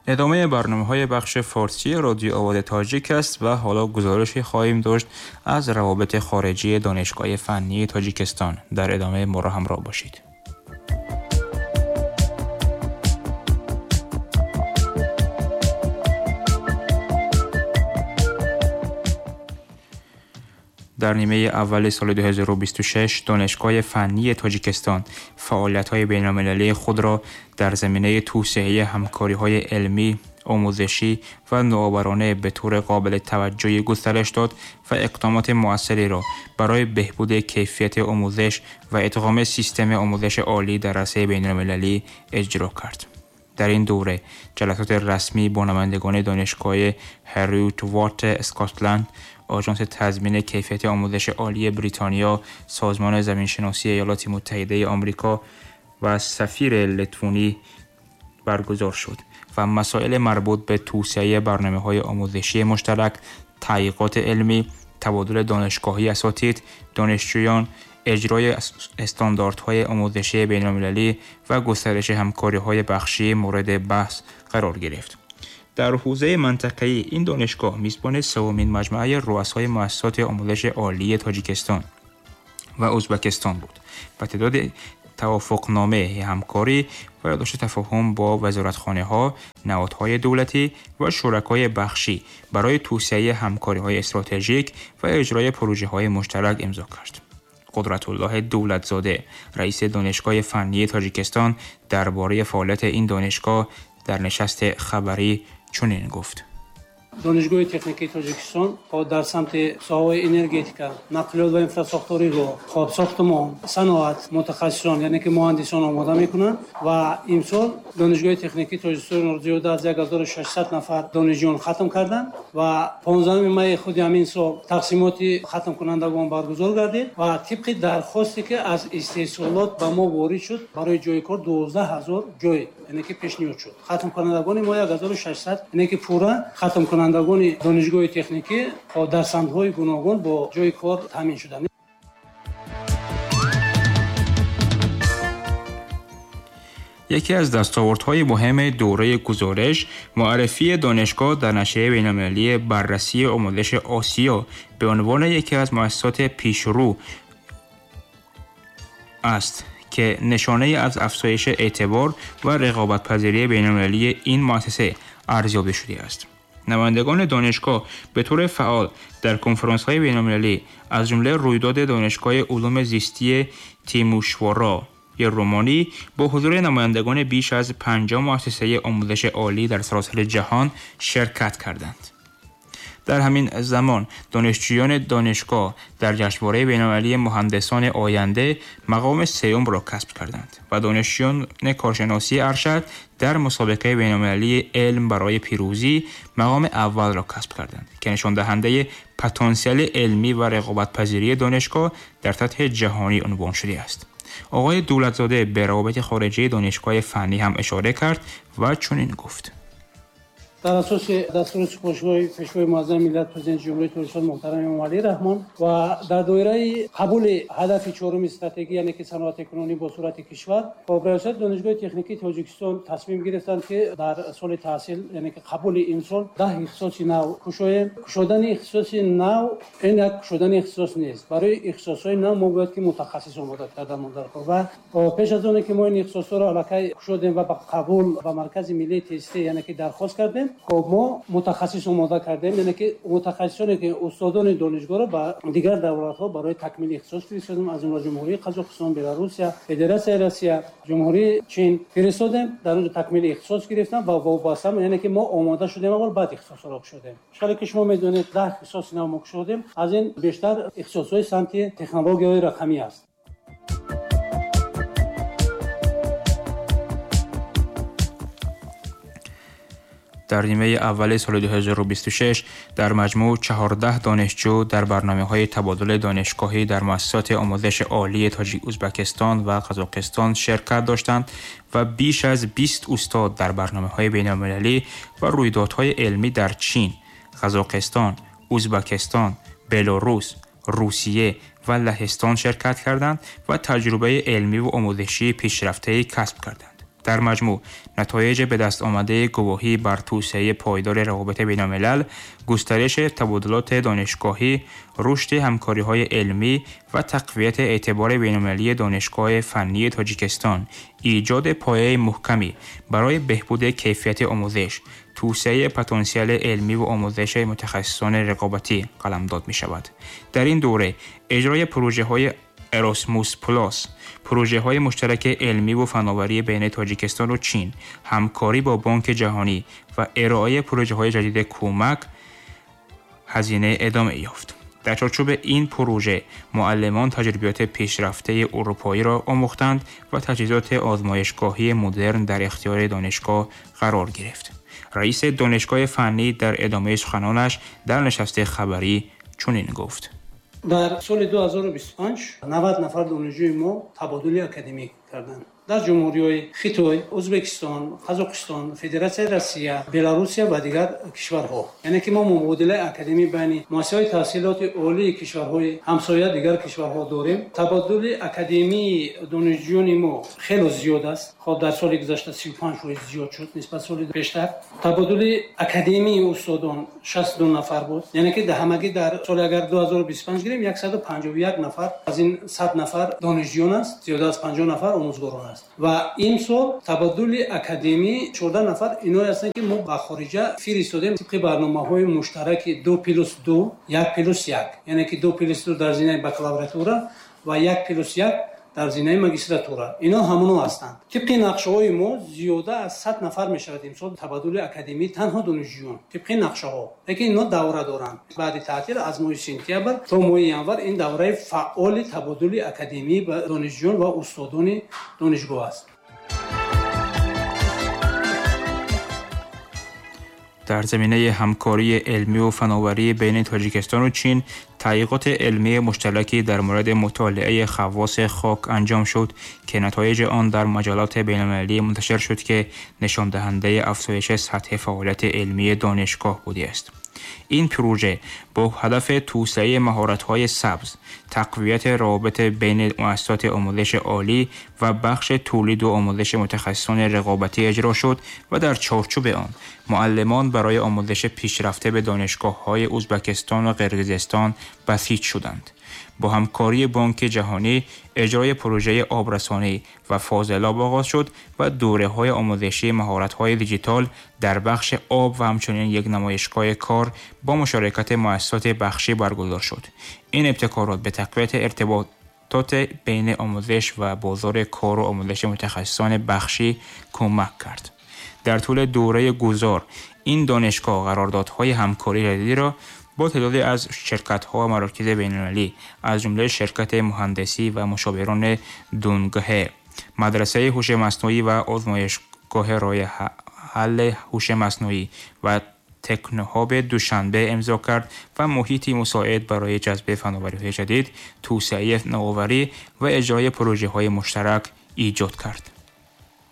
ادامه برنامه‌های بخش فارسی رادیو آواز تاجیک است و حالا گزارشی خواهیم داشت از روابط خارجی دانشگاه فنی تاجیکستان. در ادامه ما را همراه باشید. در نیمه اول سال 2026 دانشگاه فنی تاجیکستان فعالیت‌های بین‌المللی خود را در زمینه توسعه همکاری‌های علمی، آموزشی و نوآورانه به طور قابل توجهی گسترش داد و اقدامات مؤثری را برای بهبود کیفیت آموزش و ادغام سیستم آموزش عالی در عرصه بین‌المللی اجرا کرد. در این دوره جلسات رسمی با نمایندگان دانشگاه هریوت وات اسکاتلند، آژانس تضمین کیفیت آموزش عالی بریتانیا، سازمان زمینشناسی ایالات متحده آمریکا و سفیر لتونی برگزار شد و مسائل مربوط به توسعه برنامه‌های آموزشی مشترک، تحقیقات علمی، تبادل دانشگاهی اساتید، دانشجویان، اجرای استانداردهای آموزشی بین‌المللی و گسترش همکاری‌های بخشی مورد بحث قرار گرفت. در حوزه منطقه‌ای این دانشگاه میزبان سومین مجمع رؤسای مؤسسات آموزش عالی تاجیکستان و ازبکستان بود و تعداد توافقنامه همکاری و یادداشت تفاهم با وزارتخانه‌ها، نهادهای دولتی و شرکای بخشی برای توسعه همکاری‌های استراتژیک و اجرای پروژه‌های مشترک امضا کرد. قدرت الله دولتزاده، رئیس دانشگاه فنی تاجیکستان، درباره فعالیت این دانشگاه در نشست خبری چنین گفت: دانشگاه تکنیکی تاجیکستان در سمت соҳаҳои энергетика, нақлиёт ва инфрасохтори роҳ, хоб сохтмон, саноат мутахассисон, яъне ки муҳандисон омода мекунанд ва имсол донишгоҳи техникии Тоҷикистон зиёда аз 1600 нафар донишҷӯён хатм карданд ва 15 май худи ҳамин сол тақсимоти хатмкунандагон баргузор гардид ва тибқи дархосте ки аз истеҳсолот ба мо ворид шуд барои ҷойи кор 12 000 ҷой, яъне ки пешниҳод шуд. Хатмкунандагони мо 1600, яъне ки пурра хатмкунандагони донишгоҳи техникӣ дар самтҳои гуногун бо ҷойи кор таъмин шуданд. یکی از دستاوردهای مهم دوره گزارش، معرفی دانشگاه در نشریه بین‌المللی بررسی آموزش آسیا به عنوان یکی از مؤسسات پیشرو است که نشانه از افزایش اعتبار و رقابت‌پذیری بین‌المللی این مؤسسه ارزیابی شده است. نمایندگان دانشگاه به طور فعال در کنفرانس‌های بین‌المللی از جمله رویداد دانشگاه علوم زیستی تیموشوارا رومانی با حضور نمایندگان بیش از 50 مؤسسه آموزش عالی در سراسر جهان شرکت کردند. در همین زمان دانشجویان دانشگاه در جشنواره بین‌المللی مهندسان آینده مقام سوم را کسب کردند و دانشجویان کارشناسی ارشد در مسابقه بین‌المللی علم برای پیروزی مقام اول را کسب کردند که نشان دهنده پتانسیل علمی و رقابت‌پذیری دانشگاه در سطح جهانی عنوان شده است. آقای دولتزاده به روابط خارجی دانشگاه فنی هم اشاره کرد و چنین گفت: дар асоси дастури супоришҳои Пешвои Муаззами миллат, Президенти Ҷумҳурии Тоҷикистон муҳтарам Эмомалӣ Раҳмон ва дар доираи қабули ҳадафи чоруми стратегӣ, яъне ки саноатикунонӣ бо суръати кишвар, раёсати Донишгоҳи техникии Тоҷикистон тасмим гирифтанд, ки дар соли таҳсил, яъне ки қабули имсол, 10 ихтисоси нав кушоем. Кушодани ихтисоси нав ин як кушодани ихтисос нест. Барои ихтисосҳои нав мо бояд ки мутахассис омода кардан дар кор ва пеш аз оне ки мо ин ихтисосҳоро аллакай кушодем ва ба қабул ба Маркази миллии тестӣ, яъне ки дархост кардем, хоб мо мутахассис омода кардем, яъне ки мутахассисоне ки устодони донишгоҳро ба дигар давлатҳо барои такмили ихтисос фиристодем, аз ҷумла Ҷумҳурии Қазоқистон, Беларусия, Федератсияи Россия, Ҷумҳурии Чин фиристодем, дар онҷо такмили ихтисос гирифтам ва вобаста, яъне ки мо омода шудем аввал, баъд ихтисосҳоро кушодем. Хеле ки шумо медонед, 10 ихтисоси нав мо кушодем, аз ин бештар ихтисосҳои самти технологияҳои рақамӣ аст. در نیمه اول سال 2026 در مجموع 14 دانشجو در برنامه‌های تبادل دانشگاهی در مؤسسات آموزش عالی تاجیک، ازبکستان و قزاقستان شرکت داشتند و بیش از 20 استاد در برنامه‌های بین‌المللی و رویدادهای علمی در چین، قزاقستان، ازبکستان، بلاروس، روسیه و لهستان شرکت کردند و تجربه علمی و آموزشی پیشرفته‌ای کسب کردند. در مجموع نتایج به دست آمده گواهی بر توسعه پایدار روابط بین‌الملل، گسترش تبادلات دانشگاهی، رشد همکاری‌های علمی و تقویت اعتبار بین‌المللی دانشگاه فنی تاجیکستان، ایجاد پایه محکمی برای بهبود کیفیت آموزش، توسعه پتانسیل علمی و آموزش متخصصان رقابتی قلمداد می‌شود. در این دوره اجرای پروژه‌های اراسموس پلاس، پروژه‌های مشترک علمی و فناوری بین تاجیکستان و چین، همکاری با بانک جهانی و ارائه پروژه‌های جدید کمک هزینه ادامه یافت. در چارچوب این پروژه معلمان تجربیات پیشرفته اروپایی را آموختند و تجهیزات آزمایشگاهی مدرن در اختیار دانشگاه قرار گرفت. رئیس دانشگاه فنی در ادامه سخنانش در نشست خبری چنین گفت: در سال 2025 90 نفر دانشجوی ما تبادل اکادمیک کردند. در جمهوری‌های خیتوی، ازبکستان، قزاقستان، فدراسیون روسیه، بلاروسیا و دیگر کشورها. یعنی که ما مبادله اکادمی بین مؤسسه‌های تحصیلات عالی کشورهای همسایه دیگر کشورها داریم. تبادل اکادمی دانشجویان ما خیلی زیاد است. خب در سال گذشته 35% زیاد شد نسبت سال پیشتر. تبادل اکادمی استادان 62 نفر بود. یعنی که در همگی در سال اگر 2025 گیریم 151 نفر از این 100 نفر دانشجویان است، زیاد از 50 نفر آموزگاران است. و این سال تبادل اکادمی 14 نفر اینا هستند که ما به خارجه فرستادیم طبق برنامه‌های مشترک 2+2 1+1، یعنی که 2+2 در زینه بکالوراتورا و 1+1 در زینه магистратура. اینا همونو هستند. طبق نقشه‌های ما زیاده از 100 نفر می‌شود امسال تبادل اکادمی تنها دانشجویان طبق نقشه‌ها. لیکن اینا دوره دارند. بعد تعطیل از ماه سپتامبر تا ماه ینور این دوره فعال تبادل اکادمی با دانشجویان و استادان دانشگاه است. در زمینه همکاری علمی و فناوری بین تاجیکستان و چین، تحقیقات علمی مشترکی در مورد مطالعه خواص خاک انجام شد که نتایج آن در مجلات بین‌المللی منتشر شد که نشان دهنده افزایش سطح فعالیت علمی دانشگاه بوده است. این پروژه با هدف توسعه مهارت‌های سبز، تقویت روابط بین مؤسسات آموزش عالی و بخش تولید و آموزش متخصصان رقابتی اجرا شد و در چارچوب آن معلمان برای آموزش پیشرفته به دانشگاه‌های ازبکستان و قرقیزستان بسیج شدند. با همکاری بانک جهانی اجرای پروژه آبرسانی و فاضلاب آغاز شد و دوره‌های آموزشی مهارت‌های دیجیتال در بخش آب و همچنین یک نمایشگاه کار با مشارکت مؤسسات بخشی برگزار شد. این ابتکارات به تقویت ارتباطات بین آموزش و بازار کار و آموزش متخصصان بخشی کمک کرد. در طول دوره گذار این دانشگاه قراردادهای همکاری جدیدی را با تعدادی از شرکت‌ها و مراکز بین‌المللی از جمله شرکت مهندسی و مشاوران دونگه، مدرسه هوش مصنوعی و آزمایشگاه راه حل هوش مصنوعی و تکنوهاب دوشنبه امضا کرد و محیطی مساعد برای جذب فناوری‌های جدید، توسعه نوآوری و اجرای پروژه‌های مشترک ایجاد کرد.